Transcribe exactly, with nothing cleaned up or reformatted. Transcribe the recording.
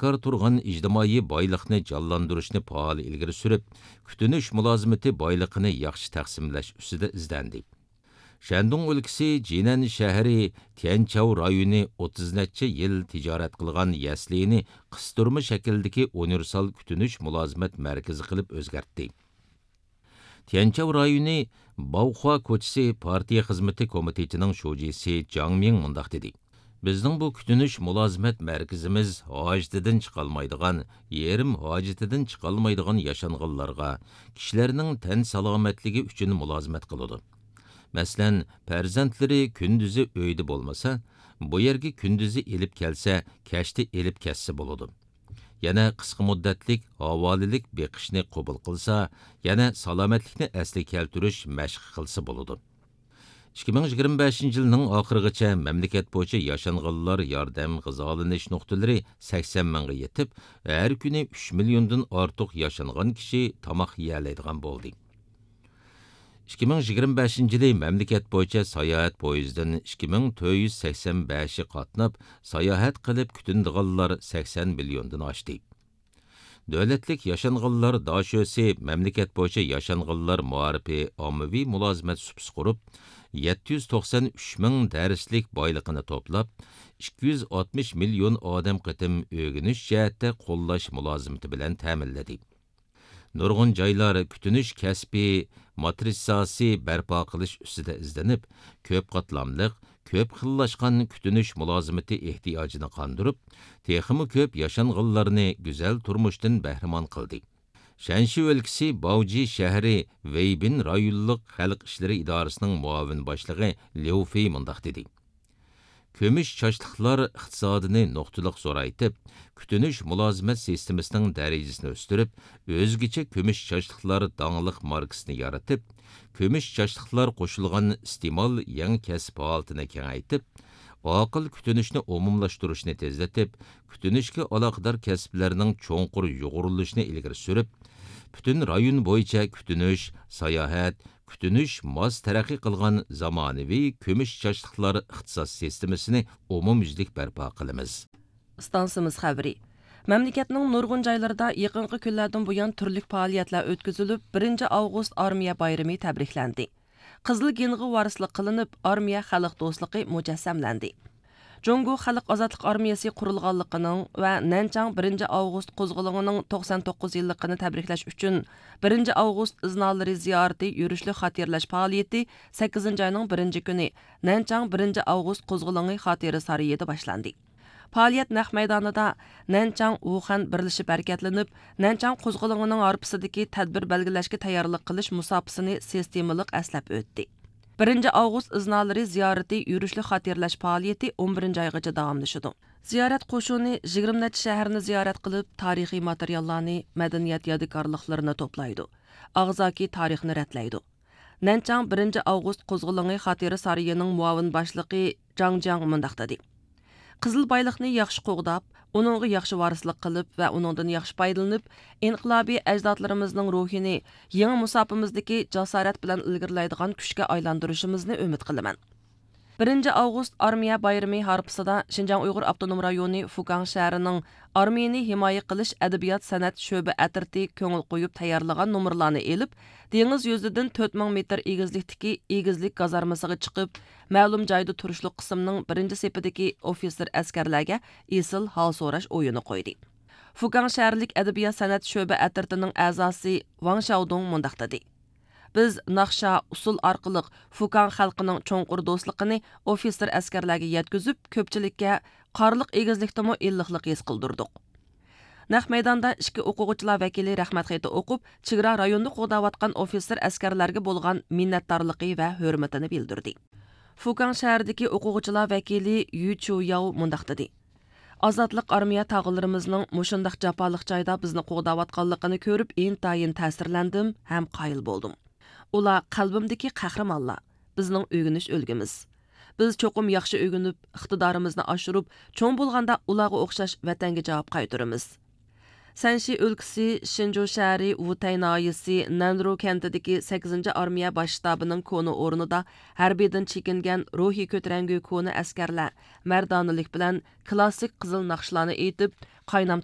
بىكار تۇرغان ئىجتىمائىي بايلىقنى جانلاندۇرۇشنى پائال ئىلگىرى سۈرۈپ، كۈتۈنۈش مۇلازىمىتى بايلىقىنى ياخشى تەقسىملەش ئۈستىدە ئىزدەندى. شەندۇڭ ئۆلكىسى جىنەن شەھىرى تيەنچاۋ رايونى ئوتتۇز نەچچە يىل تىجارەت قىلغان يەسلىنى قىستۇرما شەكىلدىكى ئۇنىۋېرسال كۈتۈنۈش مۇلازىمەت مەركىزى قىلىپ ئۆزگەرتتى. تيەنچاۋ رايونى باۋخۇا كوچىسى پارتىيە خىزمىتى كومىتېتىنىڭ شۇجىسى جاڭ مىڭ مۇنداق دېدى: بىزنىڭ بۇ كۈتۈنۈش مۇلازىمەت مەركىزىمىز ھاجىتىدىن چىقالمايدىغان، يېرىم ھاجىتىدىن چىقالمايدىغان ياشانغانلارغا، كىشىلەرنىڭ تەن سالامەتلىكى ئۈچۈن مۇلازىمەت قىلىدۇ. مەسىلەن، پەرزەنتلىرى كۈندۈزى ئۆيدە بولمىسا، بۇ يەرگە كۈندۈزى ئېلىپ كەلسە، كەچتە ئېلىپ كەتسە بولىدۇ. يەنە قىسقا مۇددەتلىك ھاۋالىلىك بېقىشنى قوبۇل قىلسا، يەنە سالامەتلىكنى ئەسلىگە كەلتۈرۈش مەشقى قىلسا بولىدۇ. ئىككى مىڭ يىگىرمە بەشىنچى يىلنىڭ ئاخىرىغىچە مەملىكەت بويىچە ياشانغانلار ياردەم غىزالىنىش نۇقتىلىرى سەكسەن مىڭغا يېتىپ، ھەر كۈنى ئۈچ مىليوندىن ئارتۇق ياشانغان كىشى تاماق يېيەلەيدىغان بولدى. ئىككى مىڭ يىگىرمە بەشىنچى يىلى مەملىكەت بويىچە ساياھەت پويىزىدىن ئىككى مىڭ تۆت يۈز سەكسەن بەشى قاتناپ، ساياھەت قىلىپ كۈتۈنىدىغانلار سەكسەن مىليوندىن ئاشتى. دۆلەتلىك ياشانغانلار داشۆسى مەملىكەت بويىچە ياشانغانلار مائارىپى ئاممىۋى مۇلازىمەت سۇپىسى قۇرۇپ، يەتتە يۈز توقسان ئۈچ مىڭ دەرسلىك بايلىقىنى توپلاپ، ئىككى يۈز ئاتمىش مىليون ئادەم قېتىم ئۆگىنىش جەھەتتە قوللاش مۇلازىمىتى بىلەن تەمىنلىدى. نۇرغۇن جايلار كۈتۈنۈش كەسپى ماترىتساسى بەرپا قىلىش ئۈستىدە ئىزدىنىپ، كۆپ قاتلاملىق، كۆپ خىللاشقان كۈتۈنۈش مۇلازىمىتى ئېھتىياجىنى قاندۇرۇپ، تېخىمۇ كۆپ ياشانغانلارنى گۈزەل تۇرمۇشتىن بەھرىمەن قىلدى. شەنشى ئۆلكىسى باۋجى شەھىرى ۋېيبىن رايونلۇق خەلق ئىشلىرى ئىدارىسىنىڭ مۇئاۋىن باشلىقى ليۇ فېي مۇنداق دېدى: كۈمۈش چاچلىقلار ئىقتىسادىنى نۇقتىلىق زورايتىپ، كۈتۈنۈش مۇلازىمەت سىستېمىسىنىڭ دەرىجىسىنى ئۆستۈرۈپ، ئۆزگىچە كۈمۈش چاچلىقلار داڭلىق ماركىسىنى يارىتىپ، كۈمۈش چاچلىقلار قوشۇلغان ئىستېمال يېڭى كەسىپ ھالىتىنى كېڭەيتىپ، ئاقىل كۈتۈنۈشنى ئومۇملاشتۇرۇشنى تېزلىتىپ، كۈتۈنۈشكە ئالاقىدار كەسىپلەرنىڭ چوڭقۇر يۇغۇرۇلۇشىنى ئىلگىرى سۈرۈپ، پۈتۈن رايون بويىچە كۈتۈنۈش، ساياھەت، كۈتۈنۈش ماس تەرەققىي قىلغان زامانىۋى كۈمۈش چاچلىقلار ئىقتىساد سىستېمىسىنى ئومۇميۈزلۈك بەرپا قىلىمىز. ئىستانسىمىز خەۋىرى. مەملىكەتنىڭ نۇرغۇن جايلىرىدا يېقىنقى كۈنلەردىن بۇيان تۈرلۈك پائالىيەتلەر ئۆتكۈزۈلۈپ، بىرىنچى ئاۋغۇست ئارمىيە بايرىمى تەبرىكلەندى. قىزىل گېنغا ۋارىسلىق قىلىنىپ، ئارمىيە خەلق دوستلۇقى مۇجەسسەملەندى. جۇڭگو خەلق ئازادلىق ئارمىيەسى قۇرۇلغانلىقىنىڭ ۋە نەنچاڭ بىرىنچى ئاۋغۇست قوزغىلىڭىنىڭ توقسان توققۇز يىللىقىنى تەبرىكلەش ئۈچۈن، بىرىنچى ئاۋغۇست ئىزنالىرى زىيارىتى يۈرۈشلۈك خاتىرىلەش پائالىيىتى سەككىزىنچى ئاينىڭ بىرىنچى كۈنى نەنچاڭ بىرىنچى ئاۋغۇست قوزغىلىڭى خاتىرە سارىيىدا باشلاندى. پائالىيەت نەق مەيدانىدا نەنچاڭ ۋۇخەن بىرلىشىپ ھەرىكەتلىنىپ، نەنچاڭ قوزغىلىڭىنىڭ ھارپىسىدىكى تەدبىر بەلگىلەشكە تەييارلىق قىلىش مۇساپىسىنى سىستېمىلىق ئەسلەپ ئۆتتى. بىرىنچى ئاۋغۇست ئىزنالىرى زىيارىتى يۈرۈشلۈك خاتىرىلەش پائالىيىتى ئون بىرىنچى ئايغىچە داۋاملىشىدۇ. زىيارەت قوشۇنى يىگىرمە نەچچە شەھەرنى زىيارەت قىلىپ، تارىخىي ماتېرىياللارنى، مەدەنىيەت يادىكارلىقلىرىنى توپلايدۇ، ئاغزاكى تارىخنى رەتلەيدۇ. نەنچاڭ بىرىنچى ئاۋغۇست قوزغىلىڭى خاتىرە سارىيىنىڭ مۇئاۋىن باشلىقى جاڭ جياڭ مۇنداق دېدى: قىزىل بايلىقنى ياخشى قوغداپ، ئۇنىڭغا ياخشى ۋارىسلىق قىلىپ ۋە ئۇنىڭدىن ياخشى پايدىلىنىپ، ئىنقىلابىي ئەجدادلىرىمىزنىڭ روھىنى يېڭى مۇساپىمىزدىكى جاسارەت بىلەن ئىلگىرىلەيدىغان كۈچكە ئايلاندۇرۇشىمىزنى ئۈمىد قىلىمەن. بىرىنچى ئاۋغۇست ئارمىيە بايرىمى ھارپىسىدا شىنجاڭ ئۇيغۇر ئاپتونوم رايونى فۇكاڭ شەھىرىنىڭ ئارمىيىنى ھىمايە قىلىش ئەدەبىيات سەنئەت شۆبە ئەترىتى كۆڭۈل قويۇپ تەييارلىغان نومۇرلارنى ئېلىپ، دېڭىز يۈزىدىن تۆت مىڭ مېتىر ئېگىزلىكتىكى ئېگىزلىك گازارمىسىغا چىقىپ، مەلۇم جايدا تۇرۇشلۇق قىسىمنىڭ بىرىنچى سېپىدىكى ئوفىتسېر ئەسكەرلەرگە ئېسىل ھال سوراش ئويۇنى قويدى. فۇكاڭ شەھەرلىك ئەدەبىيات سەنئەت شۆبە ئەترىتىنىڭ ئەزاسى ۋاڭ شياۋدۇڭ مۇنداق دېدى: بىز ناخشا، ئۇسسۇل ئارقىلىق فۇكاڭ خەلقىنىڭ چوڭقۇر دوستلۇقىنى ئوفىتسېر ئەسكەرلەرگە يەتكۈزۈپ، كۆپچىلىككە قارلىق ئېگىزلىكتىمۇ ئىللىقلىق ھېس قىلدۇردۇق. نەق مەيداندا ئىككى ئوقۇغۇچىلار ۋەكىلى رەھمەت خېتى ئوقۇپ، چېگرا رايونىدا قوغداۋاتقان ئوفىتسېر ئەسكەرلەرگە بولغان مىننەتدارلىقى ۋە ھۆرمىتىنى بىلدۈردى. فۇكاڭ شەھىرىدىكى ئوقۇغۇچىلار ۋەكىلى يۈ چۇ ياۋ مۇنداق دېدى: ئازادلىق ئارمىيە تاغىلىرىمىزنىڭ مۇشۇنداق جاپالىق جايدا بىزنى قوغداۋاتقانلىقىنى كۆرۈپ، ئىنتايىن تەسىرلەندىم ھەم قايىل بولدۇم. ئۇلار قەلبىمدىكى قەھرىمانلار، بىزنىڭ ئۆگىنىش ئۈلگىمىز. بىز چوقۇم ياخشى ئۆگىنىپ، ئىقتىدارىمىزنى ئاشۇرۇپ، چوڭ بولغاندا ئۇلارغا ئوخشاش ۋەتەنگە جاۋاب قايتۇرىمىز. سەنشى ئۆلكىسى شىنجۇ شەھىرى ۋۇتەي ناھىيەسى نەنرۇ كەنتىدىكى سەككىزىنچى ئارمىيە باش شتابىنىڭ كونا ئورنىدا ھەربىيدىن چېكىنگەن روھىي كۆتۈرەڭگۈ كونا ئەسكەرلەر مەردانىلىك بىلەن كلاسسىك قىزىل ناخشىلارنى ئېيتىپ، قاينام